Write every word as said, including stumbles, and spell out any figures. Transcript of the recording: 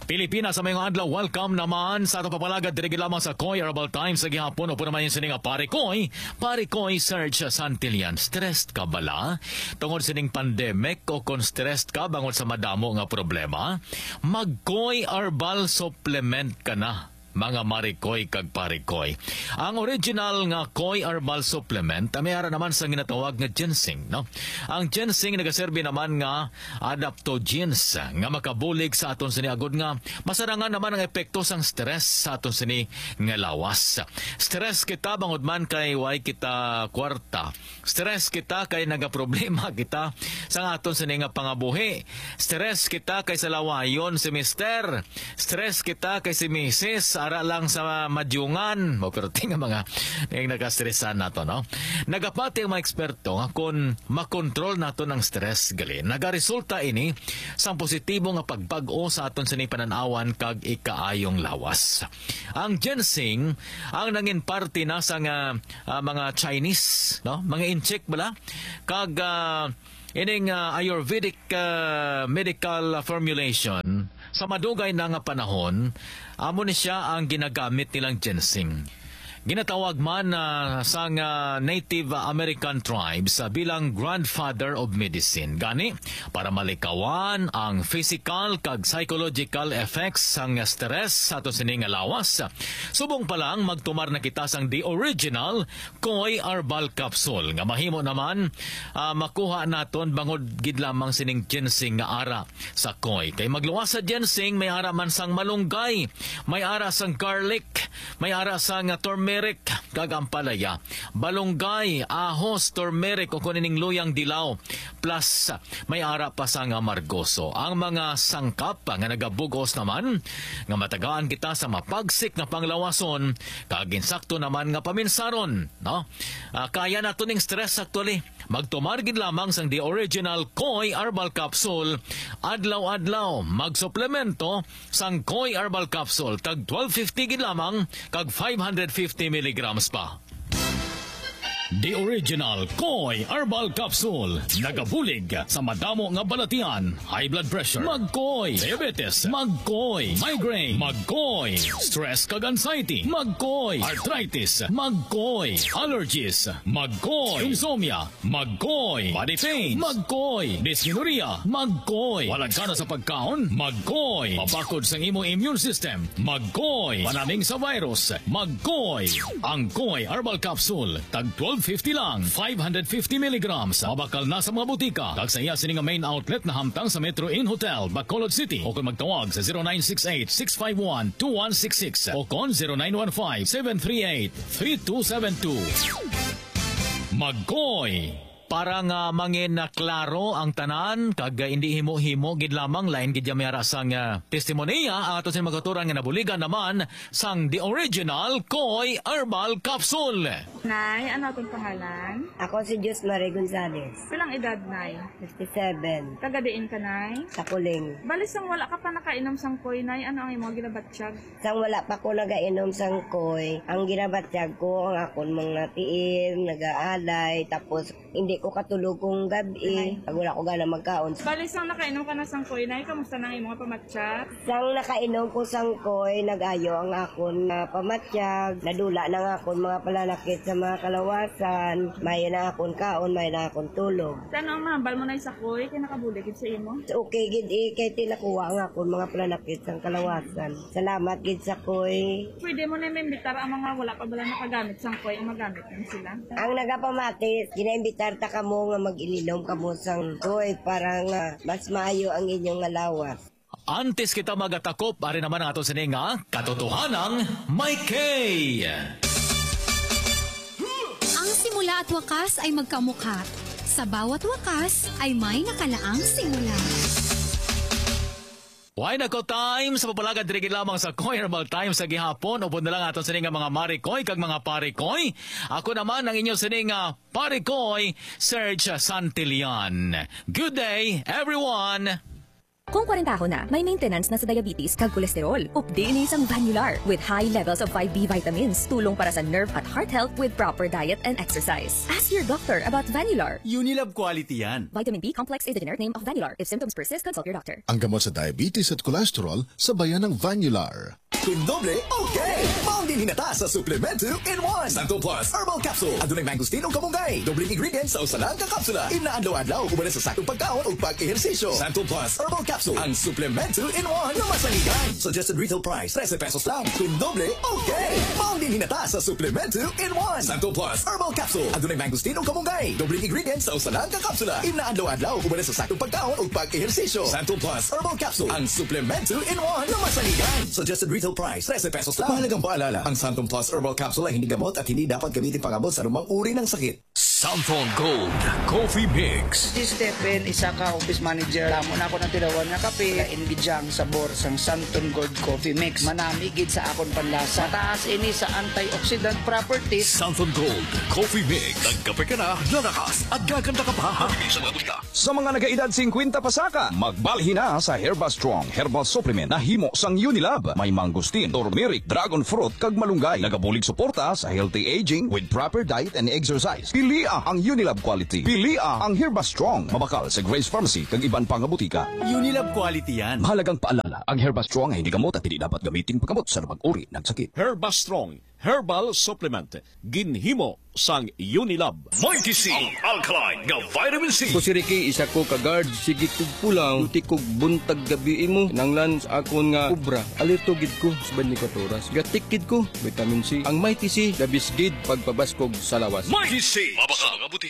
Pilipinas, sa mayong adlaw, welcome naman sa atong papalagad diri gid lamang sa Koy Herbal Times sa gihapon. Upo naman yung sini nga Pare Koy, Pare Koy Serge Santillan. Stressed ka bala? Tungod sining pandemic o kung stressed ka bangod sa madamo nga problema? Mag-Koy Herbal Supplement ka na, mga Marikoy kag Parikoy. Ang original nga Koy Herbal Supplement, ah, may ara naman sa ginatawag nga ginseng, no? Ang ginseng nagaserbi naman nga adaptogens nga makabulig sa aton sini agod nga masarangan naman ang epekto sang stress sa aton sini nga lawas. Stress kita bangod man kay way kita kwarta. Stress kita kay nagaproblema kita sa aton sini nga pangabuhi. Stress kita kay sa lawayon si mister. Stress kita kay si misis ara lang sa madyungan. Mo, pero tinga mga, mga nakastresan nato, no? Nagapati ang mga eksperto nga kon makontrol naton ang stress, gali, nagaresulta ini sang positibo nga pagbag-o sa aton sini panan-awan kag ikaayong lawas. Ang ginseng ang nangin parte na sa nga, ah, mga Chinese, no? Mga incheck bala, kag, ah, ining, ah, Ayurvedic, ah, medical formulation sa madugay na nga panahon, amo ni siya ang ginagamit nilang ginseng. Ginatawag man, ah, sang, ah, Native American tribes, ah, bilang grandfather of medicine. Gani, para malikawan ang physical kag psychological effects sang stress sa aton sini nga lawas, subong pa lang magtumar na kita sang the original Koy Herbal Capsule nga mahimo naman, ah, makuha naton bangod gid lamang sining ginseng nga ara sa koy. Kay magluwas sa ginseng, may ara man sang malunggay, may ara sang garlic, may ara sang, ah, turmeric, kag ampalaya, balunggay, ahos, turmeric, o kung ining luyang dilaw, plus may ara pa sang amargoso. Ang mga sangkap nga nagabug-os naman nga matagaan kita sa mapagsik nga panglawason kag insakto naman nga paminsaron, no? Ah, kaya nato ning stress actually. Magtumar gid lamang sang the original Koy Herbal Capsule adlaw-adlaw. Magsuplemento sang Koy Herbal Capsule, tag twelve fifty gid lamang kag five hundred fifty milligrams pa. The original Koy Herbal Capsule. Nagabulig sa madamo nga balatian. High blood pressure. Magkoy. Diabetes. Magkoy. Migraine. Magkoy. Stress kag anxiety. Magkoy. Arthritis. Magkoy. Allergies. Magkoy. Insomnia. Magkoy. Body pain. Magkoy. Dysmenorrhea. Magkoy. Walagkana sa pagkaon. Magkoy. Mabakod sang imo immune system. Magkoy. Panaming sa virus. Magkoy. Ang Koy Herbal Capsule, tag twelve fifty lang, five hundred fifty milligrams. Mabakal na sa mga butika kag sa iya sini nga main outlet na hamtang sa Metro Inn Hotel, Bacolod City, o kung magtawag sa zero nine six eight, six five one, two one six six o kon zero nine one five, seven three eight, three two seven two. Magkoy. Para nga mangin na klaro ang tanan, kag, ah, hindi himo-himo gid lamang, lain gid ya may ara sang, ah, testimonia, ang ato sing magkaturan nga nabuligan naman sang the original Koy Herbal Capsule. Nay, ano atong pangalan? Ako si Jus Marie Gonzalez, Pilang edad, Nay? Fifty-seven, Taga diin ka, Nay? Takuling. Bali, sang wala ka pa nakainom sang koy, Nay, ano ang imong ginabatyag? Sang wala pa ko nagainom sang koy, ang ginabatyag ko ang akon mga tiil, nagaalay, tapos hindi ko katulog kung gabi. Ay. Pag wala ko gana magkaon. Bali, sang nakainom ka na sang koy, Nay, kamusta na ang imong pamatyag? Sang nakainom ko sang koy, nag-ayo ang akon nga pamatyag, nadula na ang akon mga palanakit sa mga kalawasan, mayo na akon kaon, mayo na akon tulog. Sa ano ang mahambal mo, Nay, sa koy? Kay nakabulig gid sa imo? Okay gid, eh, kay tinakuha ang akon mga palanakit sang kalawasan. Salamat gid sa koy. Pwede mo na maimbitar ang mga wala pa bala nakagamit sang koy, ang magamit na sila. Ang nagapamati, ginaimbitar ta kamo nga mag-ilinom kamo sang koy para nga mas maayo ang inyong nga lawas. Antes kita magatakop, ari naman ang ato sini nga katotohanang may K. Ang simula at wakas ay magkamukha. Sa bawat wakas ay may nakalaang simula. Why nako time sa papalagad diri gid lamang sa Koy Herbal Time sa gihapon. Upod na lang aton sini nga mga marikoy kag mga parikoy. Ako naman ang inyo sini nga parikoy, Serge Santillan. Good day, everyone! Kung kwarentahon na, may maintenance na sa diabetes kag kolesterol. Updi ni sang Vanular with high levels of five B vitamins, tulong para sa nerve at heart health with proper diet and exercise. Ask your doctor about Vanular. Unilab quality yan. Vitamin B complex is the generic name of Vanular. If symptoms persist, consult your doctor. Ang gamot sa diabetes at cholesterol, sabayan ng Vanular. Kun doble, okay! Maong din hinata sa Supplement two in one. Santon Plus Herbal Capsule. Adunay mangosteen ug kamunggay. Dobleng ingredients sa usa lang ka kapsula. Inadlaw-adlaw, uban sa saktong pagkaon ug pag-ehersisyo. Santon Plus Herbal Capsule. Ang Supplement two in one na masaligan. Suggested retail price, trese pesos lang. Kun doble, okay! Maong din hinata sa Supplement two in one. Santon Plus Herbal Capsule. Adunay mangosteen ug kamunggay. Dobleng ingredients sa usa lang ka kapsula. Inadlaw-adlaw, uban sa saktong pagkaon ug pag-ehersisyo. Santon Plus Herbal Capsule. Ang Supplement two in one na masaligan. Suggested retail price, trese pesos lang. Mahalagang paalala, ang Santon Plus Herbal Capsule ay hindi gamot at hindi dapat gamitin pang-abot sa anumang uri ng sakit. Santon Gold Coffee Mix. Si Stephen, isa ka office manager. Damo na ako ng tilawan nga kape. Lain gid siya ang sabor sang Santon Gold Coffee Mix. Manami gid sa akon panlasa. Mataas ini sa antioxidant properties. Santon Gold Coffee Mix. Nagkape ka na, lalakas at gaganda ka pa. Mabibili sa mga botika. Sa mga nagaedad singkwenta pasaka, magbalhin na sa Herba Strong Herbal Supplement na himo sang Unilab. May mangosteen, turmeric, dragon fruit, kag malunggay. Nagabulig suporta sa healthy aging with proper diet and exercise. Pilia ang Unilab quality. Pilia ang Herba Strong. Mabakal sa Grace Pharmacy kag iban pa nga botika. Unilab quality yan. Mahalagang paalala, ang Herba Strong ay hindi gamot at hindi dapat gamitin paggamot sa anumang uri ng sakit. Herba Strong Herbal Supplement, ginhimo sang Unilab. Mighty C, ang alkaline nga vitamin C. Ako si Ricky, isa ko ka guard. Sige kog pulaw, duty kog buntag gabi imo. Nanglan sa akon nga obra. Alerto gid ko sa twenty-four oras. Gatik gid ko, vitamin C. Ang Mighty C, the best gid pagpabaskog sa lawas. Mighty C, mabakal nga botika.